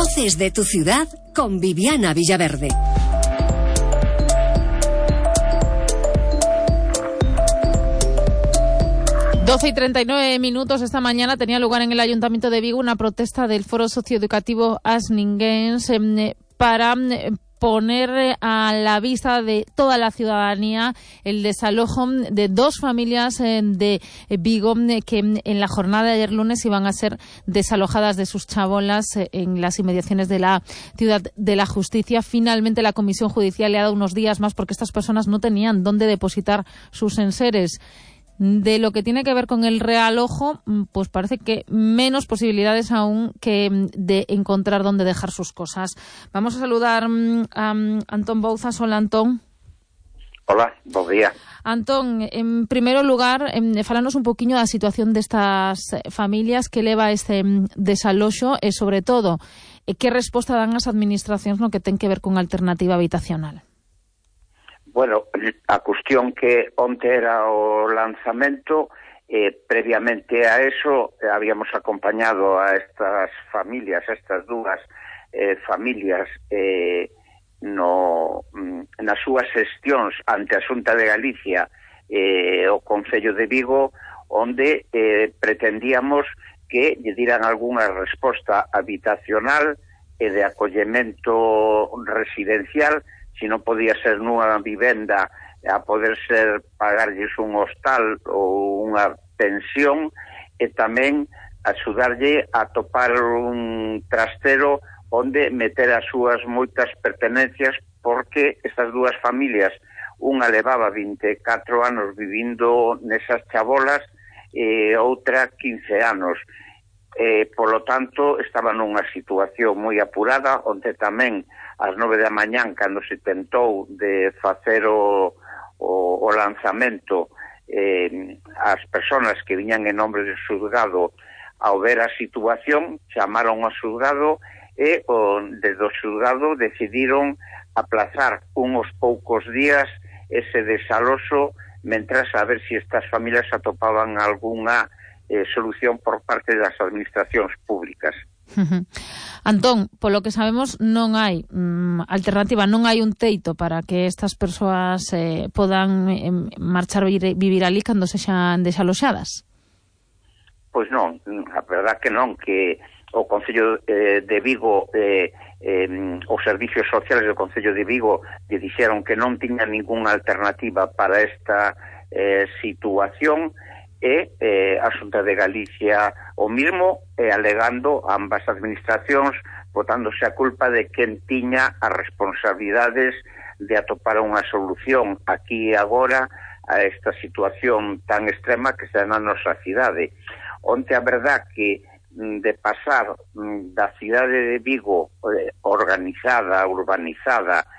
Voces de tu ciudad con Viviana Villaverde. Doce y 39 minutos. Esta mañana tenía lugar en el Ayuntamiento de Vigo una protesta del Foro Socioeducativo Asninguens para poner a la vista de toda la ciudadanía el desalojo de dos familias de Vigo que en la jornada de ayer lunes iban a ser desalojadas de sus chabolas en las inmediaciones de la Ciudad de la Justicia. Finalmente la Comisión Judicial le ha dado unos días más porque estas personas no tenían dónde depositar sus enseres. De lo que tiene que ver con el realojo, pues parece que menos posibilidades aún que de encontrar dónde dejar sus cosas. Vamos a saludar a Antón Bouzas. Hola, Antón. Hola, buen día. Antón, en primeiro lugar, falanos un poquinho da situación destas familias que leva este desaloxo e, sobre todo, que resposta dan as administracións no que ten que ver con alternativa habitacional? Bueno, a cuestión que onte era o lanzamento, previamente a eso habíamos acompañado a estas familias, a estas dúas familias nas súas xestións ante a Xunta de Galicia o Concello de Vigo, onde pretendíamos que lle diran algunha resposta habitacional e de acollemento residencial, si non podía ser nunha vivenda a poder ser pagarlles un hostal ou unha pensión, e tamén axudarlle a topar un trastero onde meter as súas moitas pertenencias, porque estas dúas familias, unha levaba 24 anos vivindo nesas chabolas e outra 15 anos. Polo tanto, estaba nunha situación moi apurada, onde tamén ás 9 da mañán, cando se tentou de facer o lanzamento, as persoas que viñan en nombre do xulgado, ao ver a situación, chamaron ao xulgado e desde o xulgado decidiron aplazar uns poucos días ese desaloxo, mentras a ver se estas familias atopaban algunha solución por parte das administracións públicas. Antón, polo que sabemos non hai alternativa, non hai un teito para que estas persoas podan marchar vivir ali cando sexan desaloxadas? Pois non, a verdad que non, que o Concello de Vigo, os servicios sociales do Concello de Vigo lle dixeron que non tiña ningunha alternativa para esta situación, e a Xunta de Galicia o mismo, alegando ambas administracións, botándose a culpa de quen tiña as responsabilidades de atopar unha solución aquí e agora a esta situación tan extrema que está na nosa cidade. Onte a verdad que de pasar da cidade de Vigo organizada, urbanizada,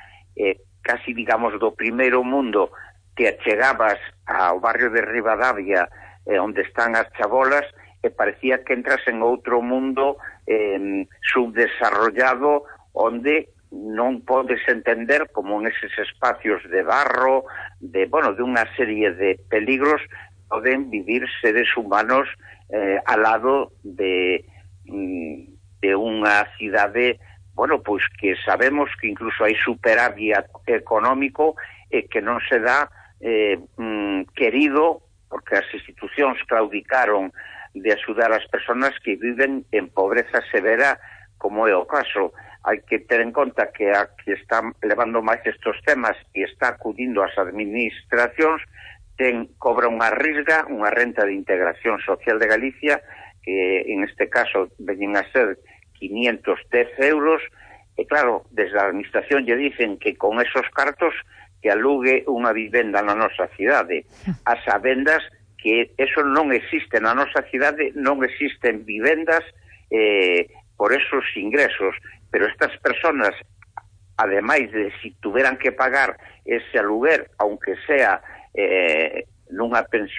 casi digamos do primeiro mundo, te achegabas ao barrio de Ribadavia, onde están as chabolas, e parecía que entras en outro mundo subdesarrollado, onde non podes entender como en eses espacios de barro, de unha serie de peligros, poden vivir seres humanos al lado de unha cidade, pois que sabemos que incluso hai superávit económico e que non se dá querido, porque as institucións claudicaron de axudar as persoas que viven en pobreza severa, como é o caso. Hai que ter en conta que a que está levando máis estes temas e está acudindo ás administracións cobra unha risga, unha renta de integración social de Galicia, que en este caso veñen a ser 510 euros, e claro, desde a administración lle dicen que con esos cartos que alugue unha vivenda na nosa cidade, as sabendas que eso non existe na nosa cidade, non existen vivendas por esos ingresos, pero estas personas, ademais de si tuveran que pagar ese aluguer, aunque sea nunha pensión